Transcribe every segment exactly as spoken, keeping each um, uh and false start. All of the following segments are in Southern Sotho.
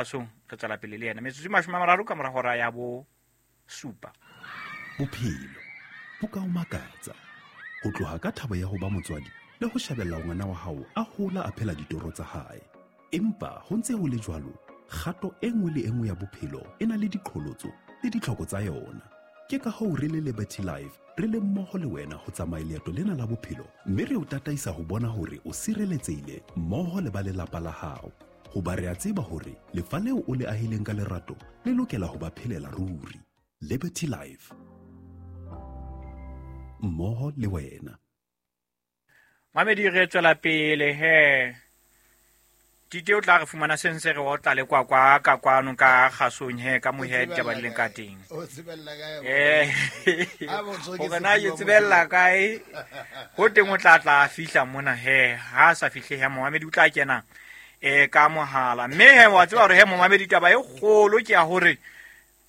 Kgasong re tswela pele le yena metsotso e mashome a mararo ka mora hora ya bo supa. Bophelo bo ka o makatsa ho tloha ka thabo ya ho ba motswadi le ho shebella ngwana wa hao a hola a phela ditoro tsa hae. Empa ho ntse ho le jwalo, kgato e nngwe le e nngwe ya bophelo e na le diqholotso le ditlhoko tsa yona. Ke ka hoo re le Liberty Life re le mmoho le wena ho tsamaya leeto lena la bophelo, mme re o tataisa ho bona hore o sireletsehile mmoho le ba lelapa la hao. Hoba re a tseba hore lefa leo o le ahileng ka lerato le lokela ho ba phelela ruri. Liberty Life, mmoho le wena. Mamedi re tswela pele he. Tite o tla re fumana sentse re otla le kwa kwa ka kwano ka kgasong he ka mohe ditaba di leng ka teng. O tsebella kae? Eh. A botso ke Hore na ke tsebella kae? Ho teng o tla tla fihla mona he. Ha sa fihle he momamedi o tla kena eh ka mohala. Mme he wa tseba hore he momamedi taba e kgolo ke ya hore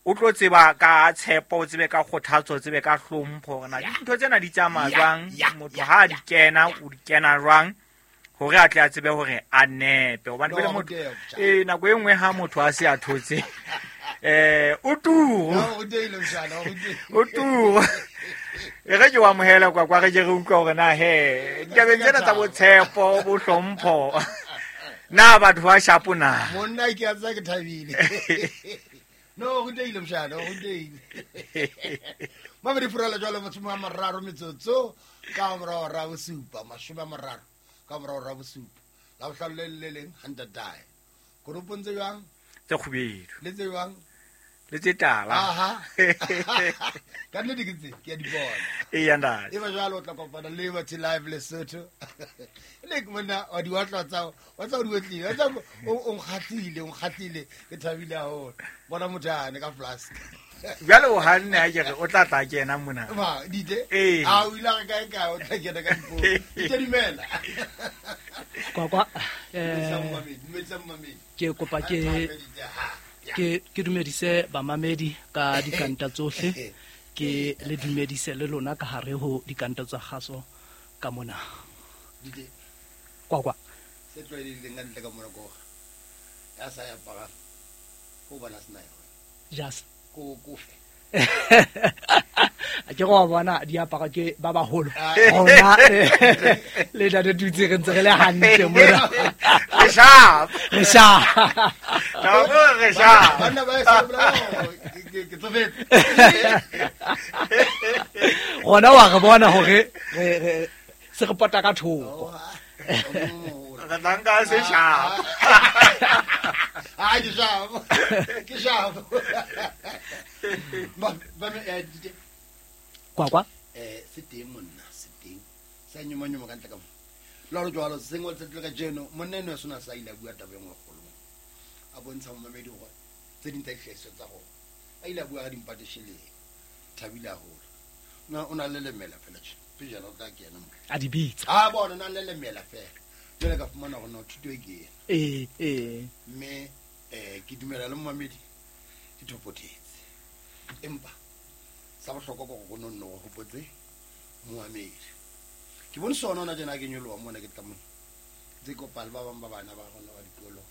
o tlo tseba ka tshepo, o tsebe ka kgothatso, o tsebe ka hlompho hore na dintho tsena di tsamaya jwang, motho ha di kena o di kena jwang hore a tle a tsebe hore a nepe. Hobane pele motho eh nako e nngwe ha motho a se a thotse eh o turu o turu e re ke wa amohela kwa kwa re ke re utlwa hore na he ditabeng tsena tsa botshepo bo hlompho na batho ba shapo na monna ke a tsa ke thabile. No, go deile mshana, go deile. Mama di furala jwalo mashome a mararo metsotso ka morao ra bosupa, mashome a mararo ka morao ra bosupa. La bohlano le le leng hantatae. Koropong tse jwang? Tse kgubedu. Le tse jwang? Le tse tala. Aha. Ka nnete ke tse ke a di bona. Eya ntate. E ba jwalo o tla kopana le Liberty Life Lesotho. Le ke monna wa di watla tsa wa tsa o di wetlile. Wa tsa o nkgahlile, o nkgahlile ke thabile haholo. Bona motho ane ka flask. Jwale o hanne ha ke re o tla tla kena mona. Ma dite. Ee. A o ile re kae kae o tla kena ka dipo. Dite dumela. Kwa kwa eh ke kopa ke ke ke dumedise bamamedi ka dikanta tsohle, ke le dumedise le lona ka hare ho dikanta tsa kgaso ka mona. Dite. Kwa kwa se tlwaelehileng ka ntle ka mona ko ya sa ya para ko bana sena yona. Just ko ko fe. A ke go bona diaparo ke ba baholo. Rona le ntate tutse re ntse re le hantle mona. Re sharp. Re sharp. Tabo re sharp. Banna ba sa bla ke ke tsofetse. Rona wa re bona hore re re se re pota ka thoko. Re tla nka se sharp. Ah, ke sharp. Ke sharp. Ba ba eh dite. Kwa kwa eh se teng monna se teng sa nyoma nyoma ka ntle ka mo la re jwalo sengwe tse tle ka jeno monna eno sona sa ile bua taba engwe kgolo a bontsha momamedi hore tse ding tsa dihlahiswa tsa rona a ile bua ka dimpatesheleng thabile haholo na o na le lemela fela tje pejana o tla kena mo a di bitsa a bona na le lemela fela jwale ka fumana hore no thuto e ke ena eh eh mme eh ke dumela le momamedi ke thopotetse empa sa bohlokwa ke go nonno go hopotse moamedi ke bone sona ona tjena ke nyoloha mona ke tla mona tse kopale ba bang ba bana ba rona ba dikolo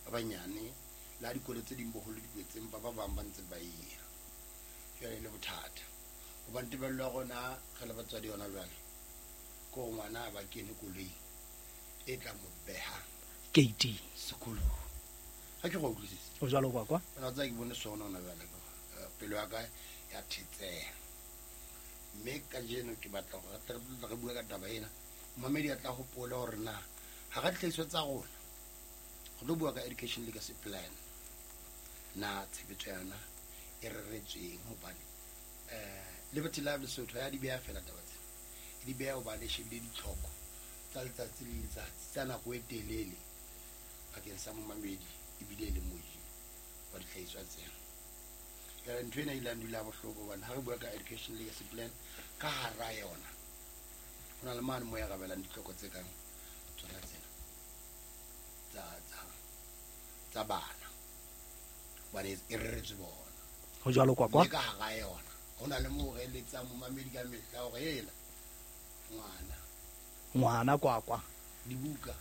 ba banyane la dikolo tse ding boholo di kwetseng ba ba bang ba ntse ba iya jwale le bothata hobane tebello ya rona re le batswadi yona jwale ko ngwana ba kene koloi e tla mo beha gate sekolong ha ke go utlwisisa o jwalo kwa kwa ona tsa ke bone sona ona jwale pelo ya ka ya thetseha mme kajeno ke batla hore re tle re bue ka taba ena momamedi a tla hopola hore na ha ra dihlahiswa tsa rona re tlo bua ka education legacy plan na tshebetso ya yona e reretsweng hobane eh Liberty Life Lesotho ya di beha fela taba tsena e di beha hobane e shebile ditlhoko tsa letsatsi le letsatsi tsa nako e telele bakeng sa momamedi ebile e le moji wa dihlahiswa tsena. Jwale ntho ena e ile ya ndula bohloko hobane ha re bua ka education legacy plan ka hara yona ho na le mane mo ya rabelang ditlhoko tse kang tsona tsena tsa tsa tsa bana hobane e reretswe bona ho jwalo kwa kwa mme ka hara yona ho na le moo re eletsang momamedi ka mehla hore ela ngwana ngwana kwa kwa dibuka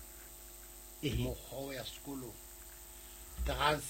eh mokgwa ya sekolong Transport.